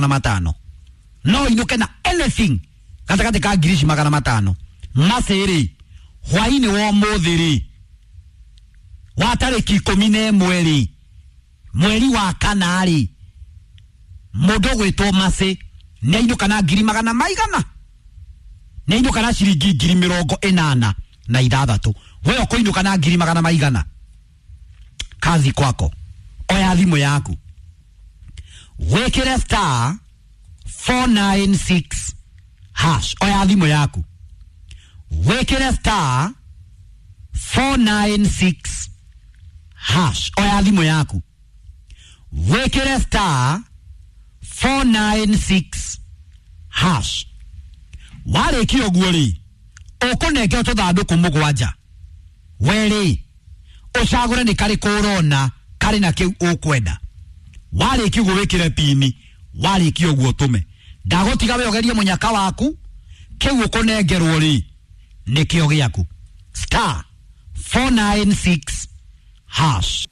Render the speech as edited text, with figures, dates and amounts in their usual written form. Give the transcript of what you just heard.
500. No ũinũke na anything gatagatĩ ka ngiri ici 500. Macĩ rĩ, hwainĩ wa ũmũthĩ rĩ, wa tarĩki 11 rĩ, mweri wa kana rĩ, mũndũ ũgwĩtwo Macĩ nĩ ainũka na ngiri magana maigana, nĩ ainũka na ciringi 86,000. We ũkũinũka na ngiri magana maigana. Kazi kwako, oya thimũ yaku wĩkĩre star 496 hash. Oya thimũ yaku wĩkĩre star 496 hash. Oya thimũ yaku wĩkĩre star 496 hash. Warĩkia ũguo rĩ, ũkũnengera tũthandũkũ mũgwanja. We rĩ, ũcagũre nĩ karĩkũ ũrona karĩ na kĩu ũkwenda. Warĩkia ũguo wĩkĩre pini, warĩkia ũguo ũtũme. Ndagũtiga we ũgerie mũnyaka waku, kĩu ũkũnengerwo rĩ nĩkĩo gĩaku. Star 496 hash.